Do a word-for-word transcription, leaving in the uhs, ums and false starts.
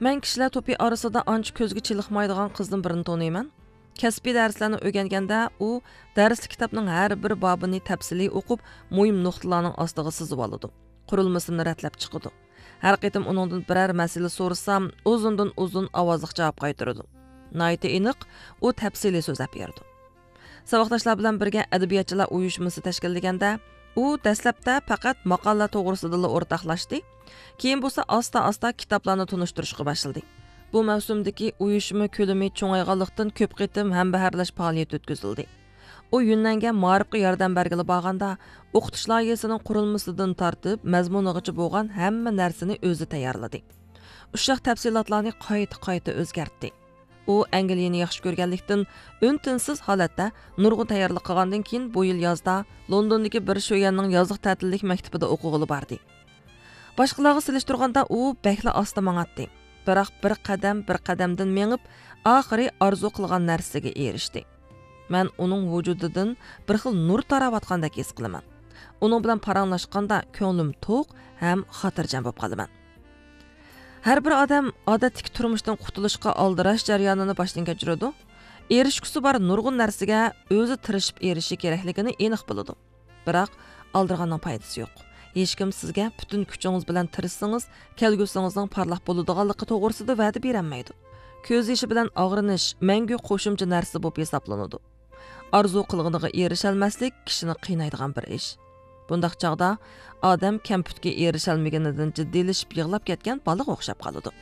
مەن كىشىلەر توپى ئارىسىدا ئانچە كۆزگە چېلىقمايدىغان قىزدىن بىرىنى تونۇيمەن. كەسپىي دەرسلەرنى ئۆگەنگەندە، ئۇ دەرسلىك كىتابنىڭ ھەر بىر بابىنى تەپسىلىي ئوقۇپ، مۇھىم نۇقتىلارنىڭ ئاستىغا سىزىۋالىدۇ. قۇرۇلمىسىنى رەتلەپ چىقىدۇ. ھەر قېتىم ئۇنىڭدىن بىرەر مەسىلە سورىسام، ئۇزۇندىن ئۇزۇن ئاۋازلىق جاۋاب قايتۇرىدۇ. ناھايىتى ئېنىق، ئۇ تەپسىلىي سۆزلەپ بېرىدۇ. ساۋاقداشلار بىلەن بىرگە ئەدەبىياتچىلار ئۇيۇشمىسى تەشكىللىگەندە، ئۇ دەسلەپتە پەقەت ماقالىلەر توغرىسىدىلا ئورتاقلاشتى، كېيىن بولسا ئاستا-ئاستا كىتابلارنى تونۇشتۇرۇشقا باشلىدى. بۇ مەۋسۇمدىكى ئۇيۇشما كۆلىمى چوڭايغانلىقتىن، كۆپ قېتىم ھەمبەھەرلەش پائالىيىتى ئۆتكۈزۈلدى. ئۇ يۈننەنگە مائارىپقا ياردەم بەرگىلى بارغاندا، ئوقۇتۇش لايىھەسىنىڭ قۇرۇلمىسىدىن تارتىپ مەزمۇنىغىچە بولغان ھەممە نەرسىنى ئۆزى تەييارلىدى. ئۇششاق تەپسىلاتلارنى قايتا-قايتا ئۆزگەرتتى. ئۇ ئەنگلىيەنى ياخشى كۆرگەنلىكتىن، ئۈن-تىنسىز ھالەتتە نۇرغۇن تەييارلىق قىلغاندىن كېيىن، بۇ يىل يازدا لوندوندىكى بىر شۆيەننىڭ يازلىق تەتىللىك مەكتىپىدە ئوقۇغىلى باردى. باشقىلارغا سېلىشتۇرغاندا ئۇ بەكلا ئاستا ماڭاتتى. بىراق بىر قەدەم، بىر قەدەمدىن مېڭىپ، ئاخىرى ئارزۇ قىلغان نەرسىگە ئېرىشتى. مەن ئۇنىڭ ۋۇجۇدىدىن بىر خىل نۇر تاراۋاتقاندەك ھېس قىلىمەن. ئۇنىڭ بىلەن پاراڭلاشقاندا كۆڭلۈم توق ھەم خاتىرجەم بولۇپ قالىمەن. ھەر بىر ئادەم ئادەتتىكى تۇرمۇشتىن قۇتۇلۇشقا ئالدىراش جەريانىنى باشتىن كەچۈرىدۇ. ئېرىشكۈسى بار نۇرغۇن نەرسىگە ئۆزى تىرىشىپ ئېرىشىشى كېرەكلىكىنى ئېنىق بىلىدۇ. بىراق، ئالدىرىغاننىڭ پايدىسى يوق. ھېچكىم سىزگە پۈتۈن كۈچىڭىز بىلەن تىرىشسىڭىز، كەلگۈسىڭىزنىڭ پارلاق بولىدىغانلىقى توغرىسىدا ۋەدە بېرەلمەيدۇ. كۆز يېشى بىلەن ئاغرىنىش مەڭگۈ قوشۇمچە نەرسە بولۇپ ھېسابلىنىدۇ. ئارزۇ قىلغىنىغا ئېرىشەلمەسلىك كىشىنى قىينايدىغان بىر ئىش. بۇنداق چاغدا ئادەم كەمپۈتكە ئېرىشەلمىگىنىدىن جىددىيلىشىپ يىغلاپ كەتكەن بالىغا ئوخشاپ قالىدۇ.